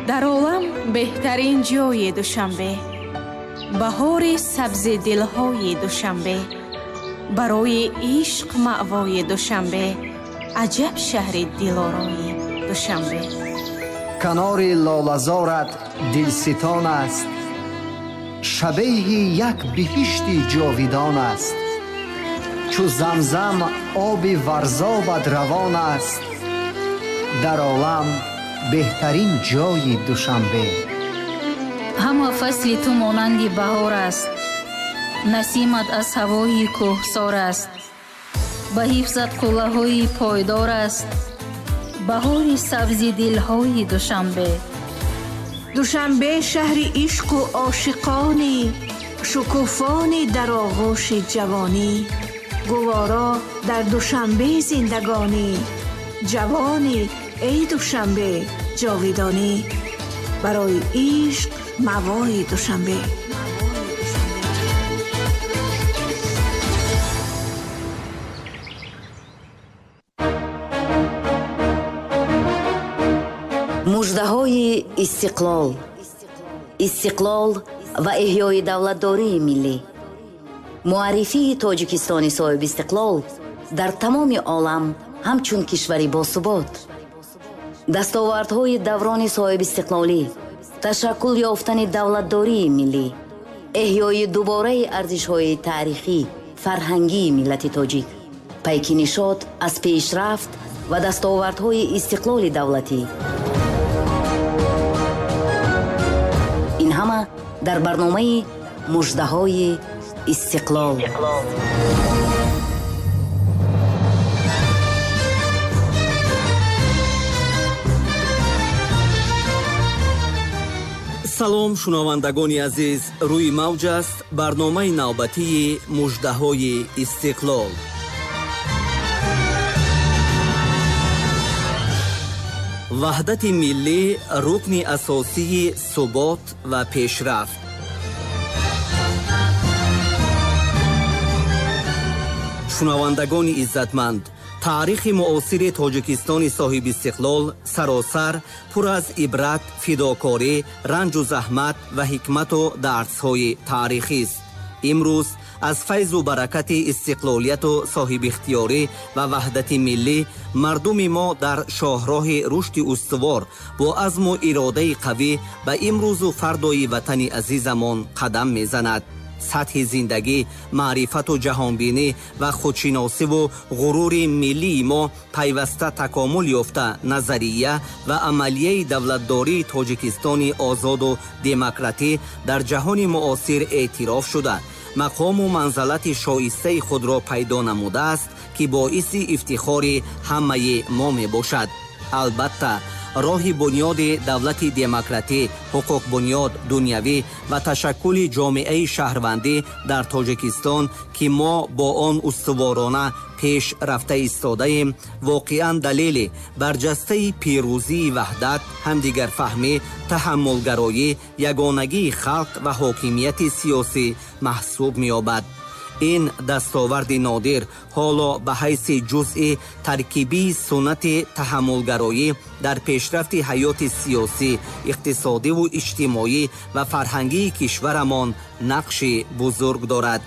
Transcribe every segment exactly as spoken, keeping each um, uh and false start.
Дар олам беҳтарин ҷои Душанбе, баҳори сабзи дилҳои Душанбе, барои ишқ маъвои Душанбе, аҷаб шаҳри дилорои Душанбе. Канори лолазорат дилситон аст, шабеҳи як биҳишти ҷовидон аст. Чу замзам оби варзобат равон аст, дар олам беҳтарин ҷои Душанбе. Ҳама фасли ту монанди баҳор аст, насимат аз ҳавои кӯҳсор аст, ба ҳифзат қуллаҳои пойдор аст, баҳори сабзи дилҳои Душанбе. Душанбе шаҳри ишқу ошиқонӣ, шукуфонӣ дар оғӯши ҷавонӣ, гуворо дар Душанбе зиндагонӣ, ҷавонӣ эй Душанбе ҷовидонӣ, барои ишқ мавои Душанбе. Муждаҳои истиқлол, истиқлол ва эҳёи давлатдории миллӣ, муаррифии Тоҷикистони соҳибистиқлол дар тамоми олам ҳамчун кишвари босубот, дастовардҳои даврони соҳибистиқлолӣ, ташаккул ёфтани давлатдории миллӣ, эҳёи дубораи арзишҳои таърихӣ, фарҳангии миллати тоҷик, пайки нишот аз пешрафт ва дастовардҳои истиқлоли давлатӣ. Ин ҳама дар барномаи муждаҳои истиқлол. Салом шунавандагони азиз, рӯи мавҷ аст барномаи навбатии муждаҳои истиқлол. Ваҳдати миллӣ рукни асосии субот ва пешрафт. Шунавандагони иззатманд, таърихи муосири Тоҷикистони соҳибистиқлол саросар пур аз ибрат, фидокорӣ, ранҷу заҳмат ва ҳикмату дарсҳои таърихист. Имрӯз аз файзу баракати истиқлолияту соҳибихтиёрӣ ва ваҳдати миллӣ мардуми мо дар шоҳроҳи рушди устувор бо азму иродаи қавӣ ба имрӯзу фардои ватани азизамон қадам мезанад. Сатҳи зиндагӣ, маърифату ҷаҳонбинӣ ва худшиносиву ғурури миллии мо пайваста такомул ёфта назария ва амалияи давлатдории Тоҷикистони озоду демократӣ дар ҷаҳони муосир эътироф шуда, мақому манзалати шоистаи худро пайдо намудааст, ки боиси ифтихори ҳамаи мо мебошад. Албатта, роҳи бунёди давлати демократӣ, ҳуқуқбунёд, дунявӣ ва ташаккули ҷомеаи шаҳрвандӣ дар Тоҷикистон, ки мо бо он устуворона пеш рафта истодаем, воқеан далели барҷастаи пирӯзии ваҳдат, ҳамдигарфаҳмӣ, таҳаммулгароӣ, ягонагии халқ ва ҳокимияти сиёсӣ маҳсуб меёбад. Ин дастоварди нодир ҳоло ба ҳайси ҷузъи таркибии суннати таҳаммулгароӣ дар пешрафти ҳаёти сиёсӣ, иқтисодиву иҷтимоӣ ва фарҳангии кишварамон нақши бузург дорад.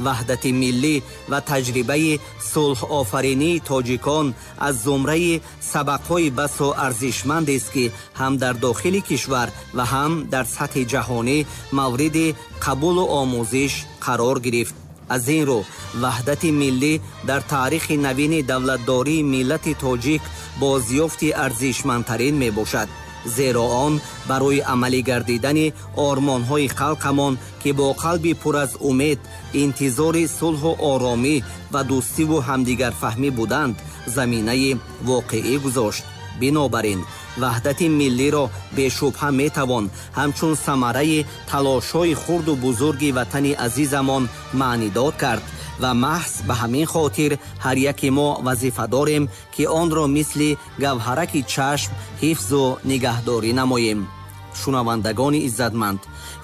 Ваҳдати миллӣ ва таҷрибаи сулҳофаринии тоҷикон аз зумраи сабақҳои басо арзишмандест, ки ҳам дар дохили кишвар ва ҳам дар сатҳи ҷаҳонӣ мавриди қабулу омӯзиш қарор гирифт. Аз ин рӯ ваҳдати миллӣ дар таърихи навини давлатдории миллати тоҷик бозёфти арзишмандтарин мебошад, зеро он барои амалӣ гардидани ормонҳои халқамон, ки бо қалби пур аз умед интизори сулҳу оромӣ ва дӯстиву ҳамдигарфаҳмӣ буданд, заминаи воқеӣ гузошт. Бинобар ин ваҳдати миллиро бешубҳа метавон ҳамчун самараи талошҳои хурду бузурги ватани азизамон маънидод кард ва маҳз ба ҳамин хотир ҳар яке мо вазифа дорем, ки онро мисли гавҳараки чашм ҳифзу нигаҳдорӣ намоем. Шунавандагони иззатманд,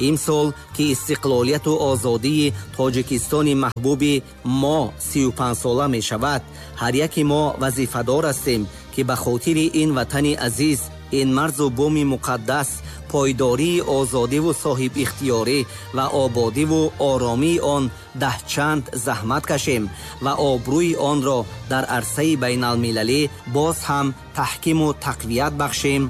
имсол ки истиқлолияту озодии Тоҷикистони маҳбуби мо сию панҷсола мешавад, ҳар яке мо вазифадор ҳастем, ки ба хотири ин ватани азиз Ин марзу буми муқаддас, пойдории озодиву соҳибихтиёрӣ ва ободиву оромии он даҳчанд заҳмат кашем ва обрӯи онро дар арсаи байналмилалӣ боз ҳам таҳкиму тақвият бахшем.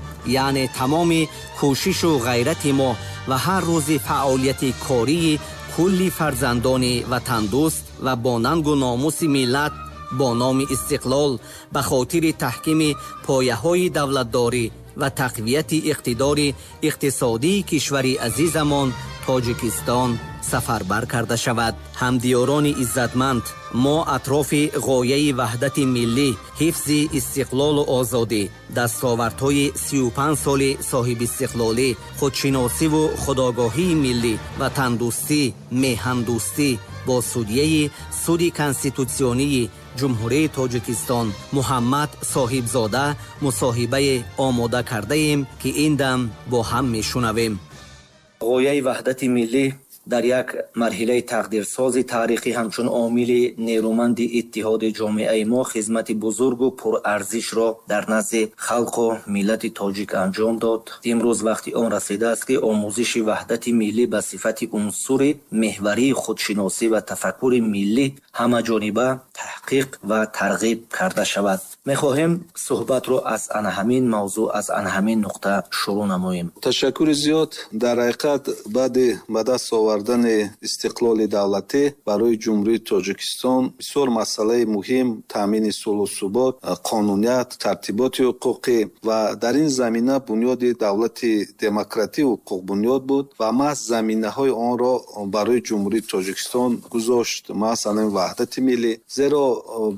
Яъне тамоми кӯшишу ғайрати мо ва ҳар рӯзи фаъолияти кории кулли фарзандони ватандӯст ва бо нангу номуси миллат бо номи истиқлол ба хотири таҳкими пояҳои давлатдорӣ ва тақвияти иқтидори иқтисодии кишвари азизамон Тоҷикистон сафарбар карда шавад. Ҳамдиёрони иззатманд, мо атрофи ғояи ваҳдати миллӣ, ҳифзи истиқлолу озодӣ, дастовардҳои сию панҷ соли соҳибистиқлолӣ, худшиносиву худогоҳии миллӣ, ватандӯстӣ, меҳандӯстӣ бо судияи суди конститутсионии Ҷумҳурии Тоҷикистон Муҳаммад Соҳибзода мусоҳибае омода кардаем, ки ин дам бо ҳам мешунавем. Ғояи ваҳдати миллӣ дар як марҳилаи тақдирсози таърихӣ ҳамчун омили нерӯманди иттиҳоди ҷомеаи мо хизмати бузургу пурарзишро дар назди халқу миллати тоҷик анҷом дод. Имрӯз вақти он расидааст, ки омӯзиши ваҳдати миллӣ ба сифати унсури меҳварии худшиносӣ ва тафаккури миллӣ ҳамаҷониба таҳқиқ ва тарғиб карда шавад. Мехоҳем суҳбатро аз ана ҳамин мавзӯъ, аз ана ҳамин нуқта шурӯъ намоем. Ташаккури зиёд. Дар ҳақиқат баъди ба даст овардани истиқлоли давлатӣ барои Ҷумҳурии Тоҷикистон бисёр масъалаи муҳим таъмини сулҳу субот, қонуният, тартиботи ҳуқуқӣ ва дар ин замина бунёди давлати демократӣ ҳуқуқбунёд буд ва маҳз заминаҳои онро барои Ҷумҳурии Тоҷикистон гузошт, маҳз ҳамин ваҳдати миллӣ. Зеро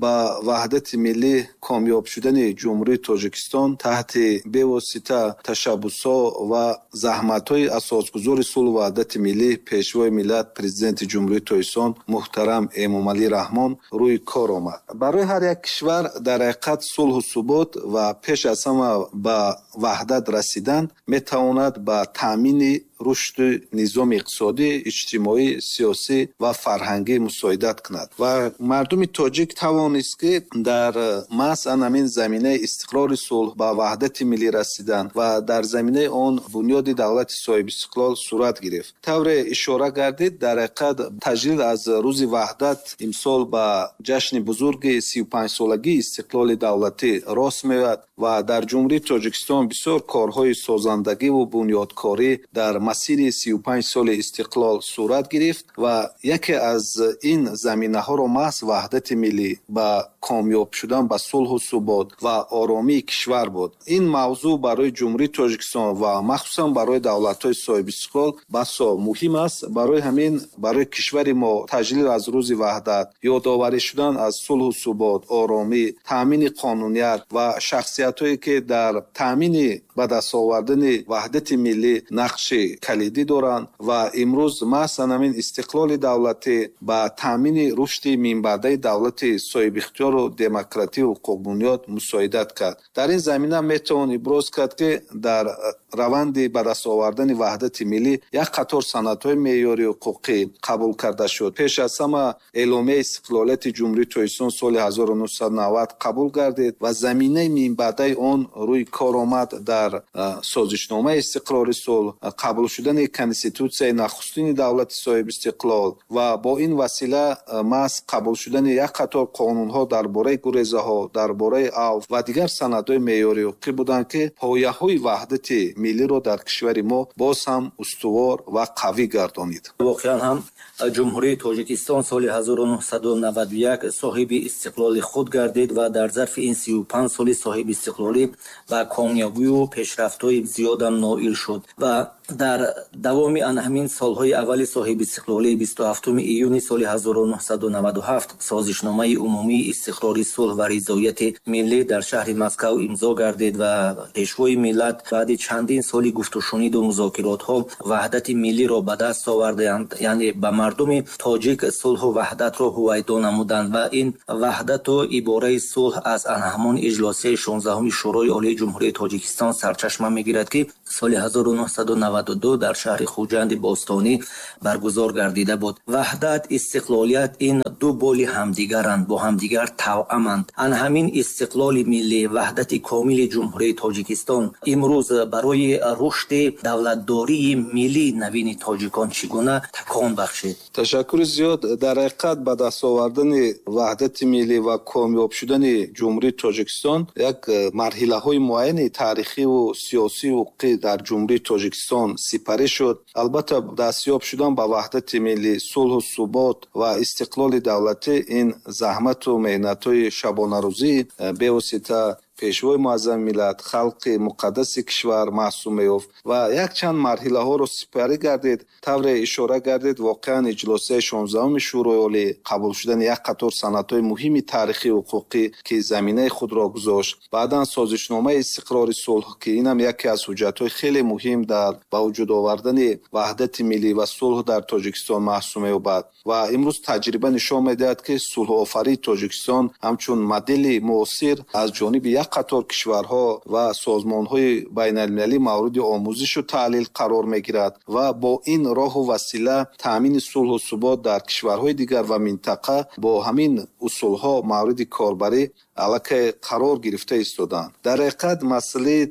ба ваҳдати миллӣ комёб шудани Ҷумҳурии Тоҷикистон таҳти бевосита ташаббусҳо ва заҳматҳои асосгузори сулҳу ваҳдати миллӣ, Пешвои миллат, Президенти Ҷумҳурии Тоҷикистон муҳтарам Эмомалӣ Раҳмон рӯи кор омад. Барои ҳар як кишвар дар ҳақиқат сулҳу субот ва пеш аз ҳама ба ваҳдат расидан метавонад ба таъмини рушди низоми иқтисодӣ, иҷтимоӣ, сиёсӣ ва фарҳангӣ мусоидат кунад. Ва мардуми тоҷик тавонист, ки дар маҳз ҳамин заминаи истиқрори сулҳ ба ваҳдати миллӣ расидан ва дар заминаи он бунёди давлати соҳибистиқлол сурат гирифт. Тавре ишора гардид, дар ҳақиқат таҷлил аз рӯзи ваҳдат имсол ба ҷашни бузурги сию панҷсолагии истиқлоли давлатӣ рост меояд ва дар Ҷумҳурии Тоҷикистон бисёр корҳои созандагиву бунёдкорӣ дар масири сию панҷ соли истиқлол сурат гирифт ва яке аз ин заминаҳоро маҳз ваҳдати миллӣ ба комёб шудан ба сулҳу субот ва оромии кишвар буд. Ин мавзӯъ барои Ҷумҳурии Тоҷикистон ва махсусан барои давлатҳои соҳибистиқлол басо муҳим аст. Барои ҳамин барои кишвари мо таҷлил аз рӯзи ваҳдат, ёдоварӣ шудан аз сулҳу субот, оромӣ, таъмини қонуният ва шахсиятҳое ки дар таъмини ба даст овардани ваҳдати миллӣ нақши калидӣ доранд ва имрӯз маҳз ҳамин истиқлоли давлатӣ ба таъмини рушди минбаъдаи давлати соҳибихтиёру демократию ҳуқуқбунёд мусоидат кард. Дар ин замина метавон иброз кард, ки дар раванди ба даст овардани ваҳдати миллӣ як қатор санадҳои меъёри ҳуқуқӣ қабул карда шуд. Пеш аз ҳама эъломияи истиқлолияти Ҷумҳурии Тоҷикистон соли ҳазору нӯҳсаду навад қабул гардид ва заминаи минбаъдаи он рӯи кор омад дар созишномаи истиқрори сулҳ, қабул шудани конститутсияи нахустини давлати соҳибистиқлол ва бо ин васила маҳз қабул шудани як қатор қонунҳо дар бораи гурезаҳо, дар бораи авф ва дигар санадҳои меъёри ҳуқуқӣ буданд, ки пояҳои ваҳдати миллиро дар кишвари мо боз ҳам устувор ва қавӣ гардонид. Воқеан ҳам Ҷумҳурии Тоҷикистон соли ҳазору нӯҳсаду наваду як соҳиби истиқлоли худ гардид ва дар зарфи ин сию панҷ соли соҳибистиқлолӣ ба комёбию пешрафтҳои зиёдам ноил шуд ва дар давоми ана ҳамин солҳои аввали соҳибистиқлолӣ бисту ҳафтуми июни соли ҳазору нӯҳсаду наваду ҳафт созишномаи умумии истиқрори сулҳ ва ризояти миллӣ дар шаҳри Москав имзо гардид ва пешвои миллат баъди чандин соли гуфтушуниду музокиротҳо ваҳдати миллиро ба даст оварданд, яъне ба мардуми тоҷик сулҳу ваҳдатро ҳувайдо намуданд ва ин ваҳдату ибораи сулҳ аз ана ҳамон иҷлосияи шонздаҳуми Шӯрои Олии Ҷумҳурии Тоҷикистон сарчашма мегирад, ки соли ҳазору нӯҳсаду наваду ду дар шаҳри Хуҷанди бостонӣ баргузор гардида буд. Ваҳдат, истиқлолият ин ду боли ҳамдигаранд, бо ҳамдигар тавъаманд. Ан ҳамин истиқлоли миллӣ, ваҳдати комили Ҷумҳурии Тоҷикистон имрӯз барои рушди давлатдории миллии навини тоҷикон чӣ гуна такон бахшид? Ташаккури зиёд. Дар ҳақиқат ба даст овардани ваҳдати миллӣ ва комёб шудани Ҷумҳурии Тоҷикистон як марҳилаҳои муайяни таърихиву сиёсию ҳуқуқӣ дар Ҷумҳурии Тоҷикистон сипарӣ шуд. Албатта, дастёб шудан ба ваҳдати миллӣ, сулҳу субот ва истиқлоли давлатӣ ин заҳмату меҳнатҳои шабонарӯзии бевосита Пешвои муаззами миллат, халқи муқаддаси кишвар маҳсуб меёфт ва якчанд марҳилаҳоро сипарӣ гардид. Тавре ишора гардид, воқеан иҷлосияи шонздаҳуми Шӯрои Олӣ, қабул шудани як қатор санадҳои муҳими таърихию ҳуқуқӣ, ки заминаи худро гузошт, баъдан созишномаи истиқрори сулҳ, ки инам яке аз ҳуҷҷатҳои хеле муҳим дар ба вуҷуд овардани ваҳдати миллӣ ва сулҳ дар Тоҷикистон маҳсуб меёбад. Ва имрӯз таҷриба нишон медиҳад, ки сулҳофарии Тоҷикистон ҳамчун модели муосир аз ҷониби як қатор кишварҳо ва созмонҳои байналмилалӣ мавриди омӯзишу таҳлил қарор мегирад ва бо ин роҳу васила таъмини сулҳу субот дар кишварҳои дигар ва минтақа бо ҳамин усулҳо мавриди корбарӣ аллакай қарор гирифта истоданд. Дар ҳақиқат масъалаи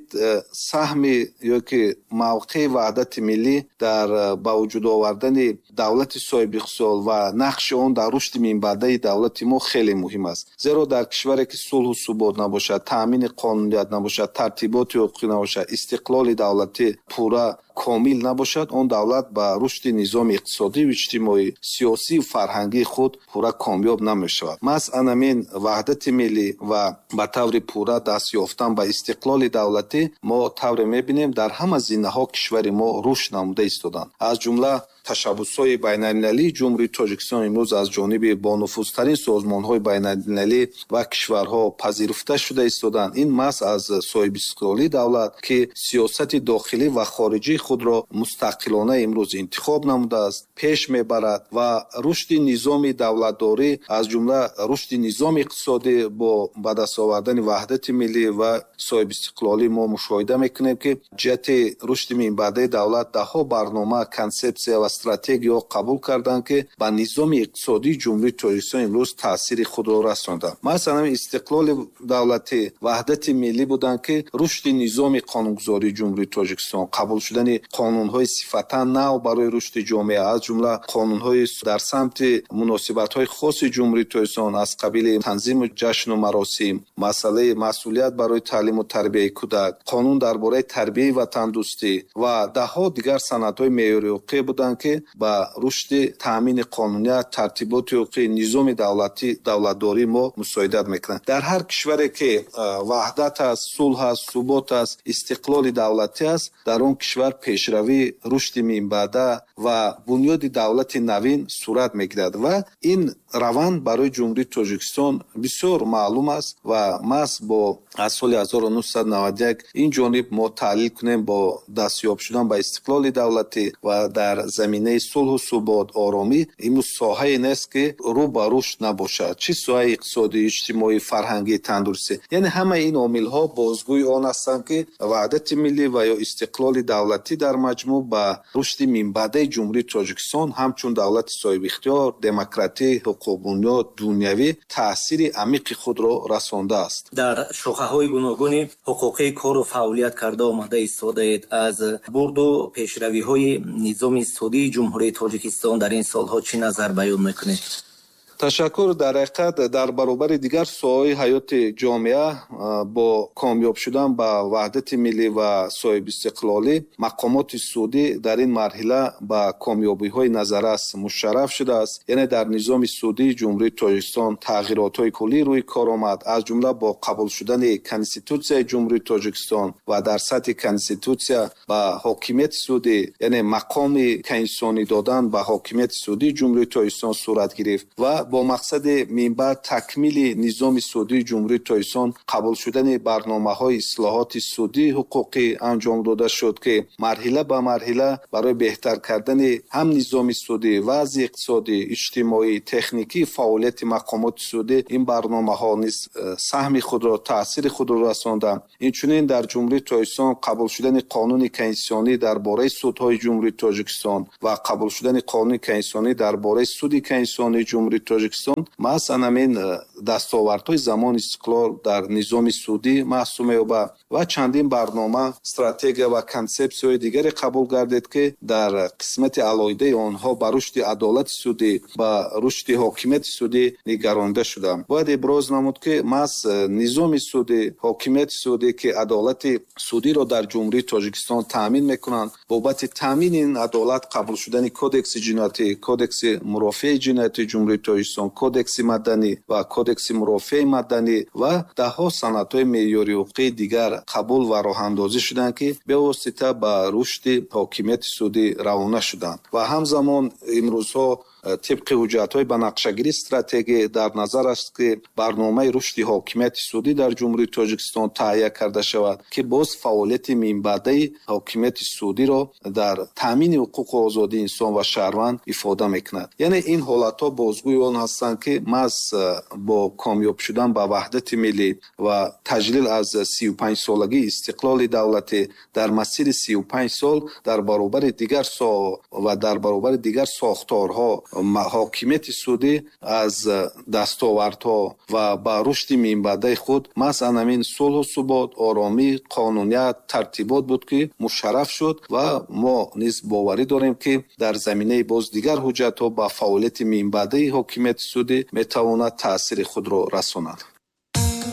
саҳми ё ки мавқеи ваҳдати миллӣ дар ба вуҷуд овардани давлати соҳибихтисол ва нақши он дар рушди минбаъдаи давлати мо хеле муҳим аст. Зеро дар кишваре ки сулҳу субот набошад, таъмини қонуният набошад, тартиботи ҳуқуқӣ набошад, истиқлоли давлатӣ пурра комил набошад, он давлат ба рушди низоми иқтисодию иҷтимоӣ, сиёсию фарҳангии худ пурра комёб намешавад. Маҳз анамин ваҳдати миллӣ ва ба таври пурра даст ёфтан ба истиқлоли давлатӣ мо тавре мебинем дар ҳама зинаҳо кишвари мо рушд намуда истоданд. Аз ҷумла ташаббусҳои байналмилалии Ҷумҳурии Тоҷикистон имрӯз аз ҷониби бонуфузтарин созмонҳои байналмилалӣ ва кишварҳо пазируфта шуда истоданд. Ин маҳз аз соҳибистиқлолии давлат, ки сиёсати дохилӣ ва хориҷии худро мустақилона имрӯз интихоб намудааст, пеш мебарад ва рушди низоми давлатдорӣ, аз ҷумла рушди низоми иқтисодӣ бо ба даст овардани ваҳдати миллӣ ва соҳибистиқлолӣ мо мушоҳида мекунем, ки ҷиҳати рушди минбаъдаи давлат даҳҳо барнома, консепсия ва стратегияҳо қабул карданд, ки ба низоми иқтисодии Ҷумҳурии Тоҷикистон имрӯз таъсири худро расонданд. Масалан, истиқлоли давлатӣ, ваҳдати миллӣ буданд, ки рушди низоми қонунгузории Ҷумҳурии Тоҷикистон, қабул шудани қонунҳои сифатан нав барои рушди ҷомеа, аз ҷумла қонунҳои дар самти муносибатҳои хоси Ҷумҳурии Тоҷикистон аз қабили танзиму ҷашну маросим, масъалаи масъулият барои таълиму тарбияи кӯдак, қонун дар бораи тарбияи ватандӯстӣ ва даҳҳо дигар санадҳои меъёрии ҳуқуқӣ буданд, ки ба рушди таъмини қонуният, тартиботи ҳуқуқӣ, низоми давлатӣ, давлатдории мо мусоидат мекунанд. Дар ҳар кишваре ки ваҳдат аст, сулҳ аст, субот аст, истиқлоли давлатӣ аст, дар он кишвар пешравӣ, рушди минбаъда ва бунёди давлати навин сурат мегирад ва ин раванд барои Ҷумҳурии Тоҷикистон бисёр маълум аст ва маҳз бо аз соли ҳазору нӯҳсаду наваду як ин ҷониб мо таҳлил кунем бо дастёб шудан ба истиқлоли давлатӣ ва дар заминаи сулҳу субот, оромӣ имрӯз соҳае нест, ки рӯ ба рушд набошад, чӣ соҳаи иқтисодӣ, иҷтимоӣ, фарҳангӣ, тандурустӣ. Яъне ҳамаи ин омилҳо бозгӯи он ҳастанд, ки ваҳдати миллӣ ва ё истиқлоли давлатӣ дар маҷмӯъ ба рушди минбаъдаи Ҷумҳурии Тоҷикистон ҳамчун давлати соҳибихтиёр, демократӣ, ҳуқуқбунёд, дунявӣ таъсири амиқи худро расондааст. Дар шохаҳои гуногуни ҳуқуқӣ кору фаъолият карда омада истодаед. Аз бурду пешравиҳои низоми судии Ҷумҳурии Тоҷикистон дар ин солҳо чӣ назар баён мекунед? Ташаккур. Дар ҳақиқат дар баробари дигар соҳаҳои ҳаёти ҷомеа бо комёб шудан ба ваҳдати миллӣ ва соҳибистиқлолӣ мақомоти судӣ дар ин марҳила ба комёбиҳои назаррас мушарраф шудааст. Яъне дар низоми судии Ҷумҳурии Тоҷикистон тағйиротҳои куллӣ рӯи кор омад, аз ҷумла бо қабул шудани Конститутсияи Ҷумҳурии Тоҷикистон ва дар сатҳи Конститутсия ба ҳокимияти судӣ, яъне мақоми конститутсионӣ додан ба ҳокимияти судии Ҷумҳурии Тоҷикистон сурат гирифт ва бо мақсади минбаъд такмили низоми судии Ҷумҳурии Тоҷикистон қабул шудани барномаҳои ислоҳоти судии ҳуқуқӣ анҷом дода шуд, ки марҳила ба марҳила барои беҳтар кардани ҳам низоми судӣ, вазъи иқтисодӣ, иҷтимоӣ, техникӣ фаъолияти мақомоти судӣ ин барномаҳо низ саҳми худро, таъсири худро расонданд. Инчунин дар Ҷумҳурии Тоҷикистон қабул шудани қонуни конститутсионӣ дар бораи судҳои Ҷумҳурии Тоҷикистон ва қабул шудани қонуни конститутсионӣ дар бораи суди конститутсионии Ҷумҳурии Тоҷикистон маҳз ҳамин дастовардҳои замони истиқлол дар низоми судӣ маҳсуб меёбад ва чандин барнома, стратегия ва консепсияҳои дигаре қабул гардид, ки дар қисмати алоҳидаи онҳо ба рушди адолати судӣ, ба рушди ҳокимияти судӣ нигаронида шуданд. Бояд иброз намуд, ки маҳз низоми судӣ, ҳокимияти судӣ, ки адолати судиро дар Ҷумҳурии Тоҷикистон таъмин мекунанд, бобати таъмини ин адолат қабул шудани кодекси ҷиноятӣ, кодекси мурофиаи ҷиноятии Ҷумҳурии Тоҷикистон, кодекси маданӣ ва кодекси мурофиаи маданӣ ва даҳҳо санадҳои меъёрии ҳуқуқии дигар қабул ва роҳандозӣ шуданд, ки бевосита ба рушди ҳокимияти судӣ равона шуданд. Ва ҳамзамон имрӯзҳо тибқи ҳуҷҷатҳои ба нақшагирии стратегӣ дар назар аст, ки барномаи рушди ҳокимияти судӣ дар Ҷумҳурии Тоҷикистон таҳия карда шавад, ки боз фаъолияти минбаъдаи ҳокимияти судиро дар таъмини ҳуқуқу озодии инсон ва шаҳрванд ифода мекунад. Яъне ин ҳолатҳо бозгӯи он ҳастанд, ки маҳз бо комёб шудан ба ваҳдати миллӣ ва таҷлил аз сию панҷ солагии истиқлоли давлатӣ дар масири сию панҷ сол дар баробари дигар соҳа ва дар баробари дигар сохторҳо ҳокимияти судӣ аз дастовардҳо ва ба рушди минбаъдаи худ маҳз ҳамин сулҳу субот, оромӣ, қонуният, тартибот буд, ки мушарраф шуд ва мо низ боварӣ дорем, ки дар заминаи боз дигар ҳуҷҷатҳо ба фаъолияти минбаъдаи ҳокимияти судӣ метавонад таъсири худро расонад.